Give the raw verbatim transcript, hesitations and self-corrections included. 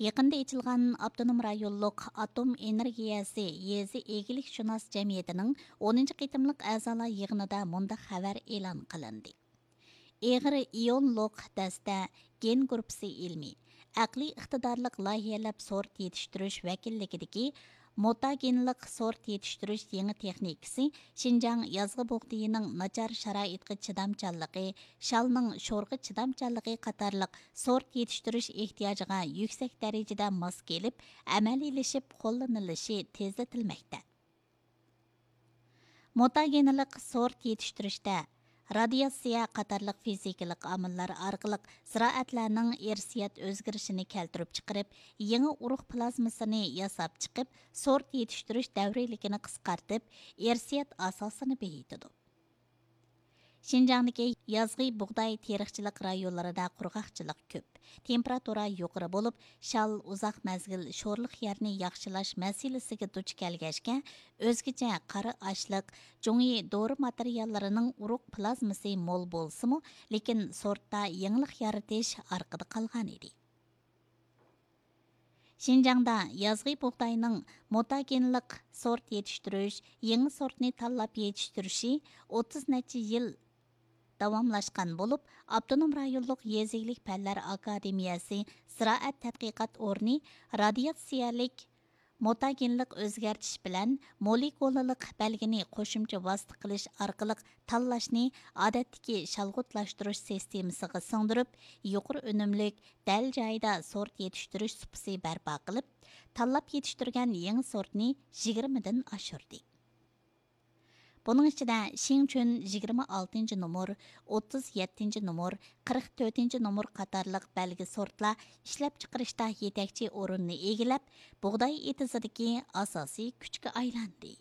يېقىندا ئېچىلغان ئاپتونوم رايونلۇق ئاتوم ئېنېرگىيەسى يېزا ئىگىلىكشۇناس جەمئىيىتىنىڭ ئونىنچى قېتىملىق ئەزالار يىغىنىدا مۇنداق خەۋەر ئېلان قىلىندى. ئېغىر ئىيونلۇق دەستە گېن گۇرۇپپىسى ئىلمىي، ئەقلىي ئىقتىدارلىق لايىھەلەپ سورت يېتىشتۈرۈش ۋەكىللىكىدىكى مۇتاگېنلىق سورت يېتىشتۈرۈش يېڭى تېخنىكىسى شىنجاڭ يازغى بۇغدىيىنىڭ ناچار شارائىتقا چىدامچانلىقى، شالنىڭ شورغا چىدامچانلىقى قاتارلىق سورت يېتىشتۈرۈش ئېھتىياجىغا يۈكسەك دەرىجىدە ماس كېلىپ، ئەمەلىيلىشىپ قوللىنىلىشى تېزلىتىلمەكتە. مۇتاگېنلىق سورت يېتىشتۈرۈشتە رادىياتسىيە قاتارلىق فىزىكىلىق ئامىللار ئارقىلىق زىرائەتلەرنىڭ ئىرسىيەت ئۆزگىرىشىنى كەلتۈرۈپ چىقىرىپ، يېڭى ئۇرۇق پلازمىسىنى ياساپ چىقىپ، سورت يېتىشتۈرۈش دەۋرىيلىكىنى قىسقارتىپ، ئىرسىيەت ئاساسىنى بېيىتىدۇ. شىنجاڭدىكى يازغى بۇغداي تېرىقچىلىق رايونلىرىدا قۇرغاقچىلىق كۆپ، تېمپېراتۇرا يۇقىرى بولۇپ، شال ئۇزاق مەزگىل شورلۇق يەرنى ياخشىلاش مەسىلىسىگە دۇچ كەلگەچكە، ئۆزگىچە قارا ئاشلىق، جۇڭيى دورا ماتېرىياللىرىنىڭ ئۇرۇق پلازمىسى مول بولسىمۇ، لېكىن سورتتا يېڭىلىق يارىتىش ئارقىدا قالغانىدى. شىنجاڭدا يازغى بۇغداينىڭ مۇتاگېنلىق سورت يېتىشتۈرۈش، يېڭى سورتنى تاللاپ يېتىشتۈرۈشى ئوتتۇز نەچچە يىل داۋاملاشقان بولۇپ، ئاپتونوم رايونلۇق يېزا ئىگىلىك پەنلەر ئاكادېمىيەسى زىرائەت تەتقىقات ئورنى رادىياتسىيەلىك مۇتاگېنلىق ئۆزگەرتىش بىلەن مولېكۇلىلىق بەلگىنى قوشۇمچە ۋاسىتە قىلىش ئارقىلىق تاللاشنى ئادەتتىكى شالغۇتلاشتۇرۇش سىستېمىسىغا سىڭدۈرۈپ، يۇقىرى ئۈنۈملۈك، دەل جايىدا سورت يېتىشتۈرۈش سۇپىسى بەرپا قىلىپ، تاللاپ يېتىشتۈرگەن يېڭى سورتنى يىگىرمىدىن ئاشۇردى. بۇنىڭ ئىچىدە شىڭچۈن يىگىرمە ئالتىنچى نومۇر، ئوتتۇز يەتتىنچى نومۇر، قىرىق تۆتىنچى نومۇر قاتارلىق بەلگە سورتلار ئىشلەپچىقىرىشتا يېتەكچى ئورۇننى ئىگىلەپ، بۇغداي ئېتىزىدىكى ئاساسىي كۈچكە ئايلاندى.